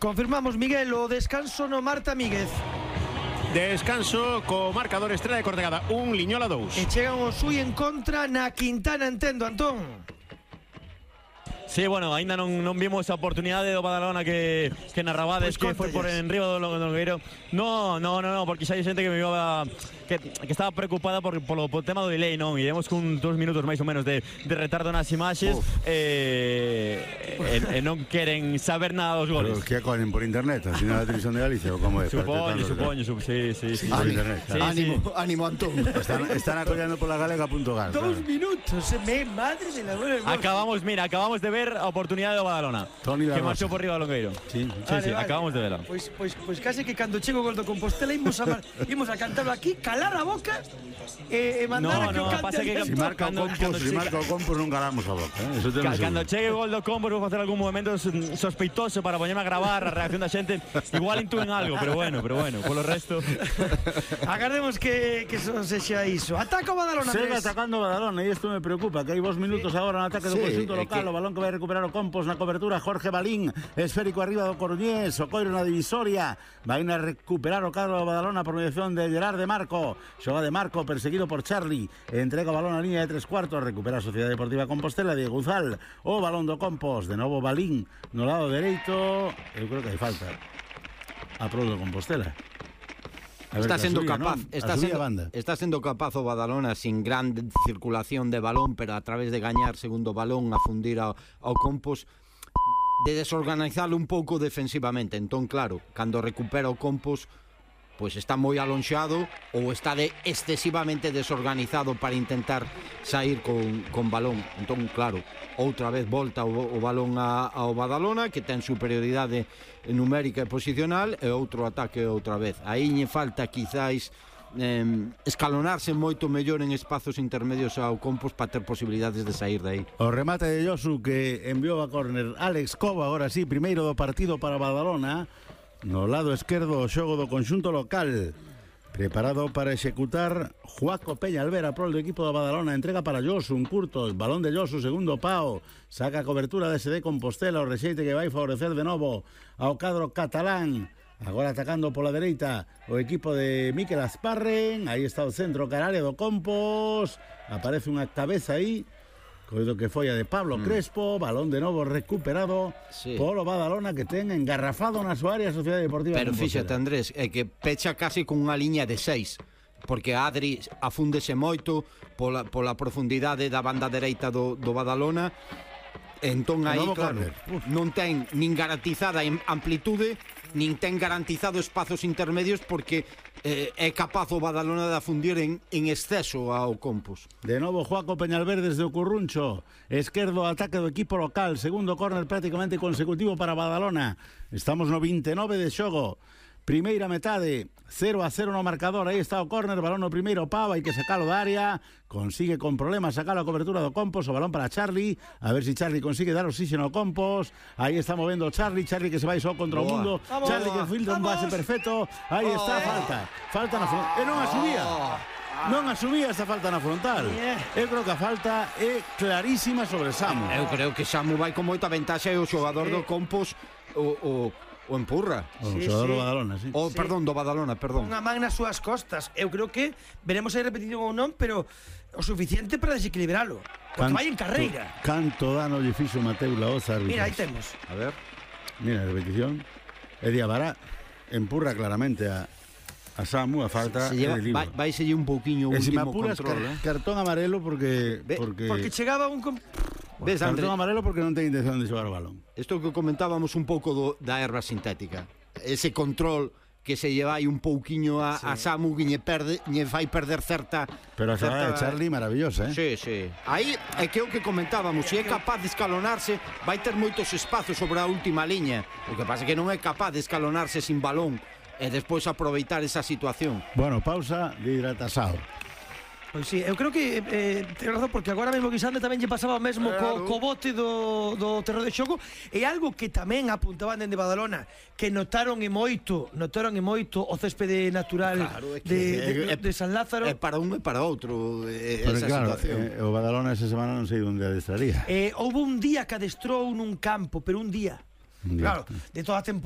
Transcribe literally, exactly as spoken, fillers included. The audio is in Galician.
Confirmamos, Miguel, o descanso no Marta Míguez. Descanso co marcador Estrela de Cortegada un, Liñola dous. E chegan os Ui en contra na Quintana, entendo, Antón. Sí, bueno, ainda non, non vimos a oportunidade do Badalona que, que narrabades, pues que foi por enriba do Longueiro. No, no, no, no, porque xa hai xente que me iba que, que estaba preocupada por, por, por o tema do delay, non? Iremos con dos minutos máis ou menos de, de retardo nas imaxes eh, e, e non queren saber nada dos goles. Pero que aconen por internet, así na televisión de Galicia ou como é? Supoño, supoño, sup, sí, sí, sí. Por internet, sí, ánimo, sí. ánimo, Antón. Están, están acollando pola galega punto gal. Dos claro. minutos, me, madre de la buena hermosa. Acabamos, mira, acabamos de ver a oportunidade do Badalona, Tony que marchou por riba do Longueiro. Sí, sí, vale, sí, vale. acabamos de verla. Pois, pois, pois case que cando chego o gol do Compostela imos a, mar, imos a cantarlo aquí, calar a boca e, e mandar no, a que no, o cante pasa que Si marca o Compos, si marca o Compos non calamos a boca, eh? Eso te Ca, cando chegue o gol do Compos vou facer algún movimento sospeitoso para poñerme a gravar a reacción da xente. Igual intúen algo, pero bueno, pero bueno, polo resto agardemos que, que son sexa iso. Ataca o Badalona, Sigue Andrés. atacando o Badalona e isto me preocupa, que hai vos minutos sí. agora no ataque do sí, conxunto local, que... o balón que vai recuperar o Compos na cobertura, Jorge Balín, esférico arriba do Coruñés, o Coiro na divisoria, vai a recuperar o cadro do Badalona por mediación de Gerard de Marco, xoga de Marco perseguido por Charlie, entrega o balón a línea de tres cuartos, recupera a Sociedade Deportiva Compostela, Diego Uzal, o balón do Compos, de novo Balín no lado dereito, eu creo que hai falta a prol do Compostela. Está sendo subía, capaz, ¿no? está sendo, está sendo capaz o Badalona sin gran circulación de balón, pero a través de gañar segundo balón a fundir ao, ao Compos, de desorganizalo un pouco defensivamente. Entón, claro, cando recupera o Compos, pois está moi alonxado ou está de excesivamente desorganizado para intentar sair con, con balón. Entón, claro, outra vez volta o, o balón a, ao Badalona, que ten superioridade numérica e posicional, e outro ataque outra vez. Aí lle falta quizáis eh, escalonarse moito mellor en espazos intermedios ao Compos para ter posibilidades de sair de aí. O remate de Josu que enviou a córner Alex Cova, agora sí, primeiro do partido para Badalona, no lado esquerdo o xogo do conxunto local, preparado para executar Juaco Peña Alvera, pro do equipo da Badalona, entrega para Josu, un curto, balón de Josu, segundo pao, saca a cobertura de S D Compostela, o rexeite que vai favorecer de novo ao cadro catalán. Agora atacando pola dereita o equipo de Miquel Asparren. Aí está o centro cararia do Compos. Aparece unha cabeza aí, coido que foi a de Pablo mm. Crespo. Balón de novo recuperado sí. polo Badalona, que ten engarrafado na súa área a Sociedade Deportiva. Pero fíxate, Andrés, é que pecha casi con unha liña de seis, porque Adri afúndese moito pola, pola profundidade da banda dereita do, do Badalona. Entón aí, claro, non ten nin garantizada amplitude, nin ten garantizado espazos intermedios, porque eh, é capaz o Badalona de afundir en, en exceso ao Compos. De novo Juaco Peñalver desde o Curruncho, esquerdo ataque do equipo local, segundo córner prácticamente consecutivo para Badalona. Estamos no vinte e nove de xogo, primeira metade, cero a cero no marcador. Aí está o córner, balón no primeiro pau, hai que sacalo da área, consigue con problemas sacar a cobertura do Compos, o balón para Charlie, a ver si Charlie consigue dar oxígeno ao Compos. Aí está movendo Charlie, Charlie que se vai só contra o mundo, vamos, Charlie que filtra un base perfecto. Aí oh, está, falta, falta na frontal, e non a subía. Non asumía esa falta na frontal. Eu creo que a falta é clarísima sobre Samu. Eu creo que Samu vai con moita ventaxa e o xogador do Compos o, o o empurra. O sí, xogador sí. do Badalona, sí. O, sí. perdón, do Badalona, perdón. Unha man nas súas costas. Eu creo que veremos aí repetición ou non, pero o suficiente para desequilibralo. Porque vai en carreira. Canto dano lle fixo Mateu Laoza. Mira, aí temos. A ver. Mira, repetición. E Diabara empurra claramente a a Samu, a falta se lleva, de libro. Vai, vai selle un pouquiño o último control, car eh? cartón amarelo porque Ve, porque porque chegaba un comp... Ves, cartón André, amarelo porque non ten intención de xogar o balón. Isto que comentábamos un pouco do, da erva sintética. Ese control que se lleva aí un pouquiño a, sí. a Samu, que lle perde, lle fai perder certa... Pero a certa... de Charlie maravillosa, eh? Sí, sí. Aí é que o que comentábamos, se é capaz de escalonarse, vai ter moitos espazos sobre a última liña. O que pasa é que non é capaz de escalonarse sin balón e despois aproveitar esa situación. Bueno, pausa de hidratasao. Pois sí, eu creo que eh, ten razón, porque agora mesmo Guisande tamén lle pasaba o mesmo claro. co, co bote do, do terreno de xogo. E algo que tamén apuntaban dende Badalona, que notaron e moito, notaron e moito o céspede natural claro, que, de, de, de, de San Lázaro. É para un e para outro eh, esa claro, situación. Eh, o Badalona esa semana non sei onde adestraría. Eh, houve un día que adestrou nun campo, pero un día. Un día. Claro, de toda a temporada.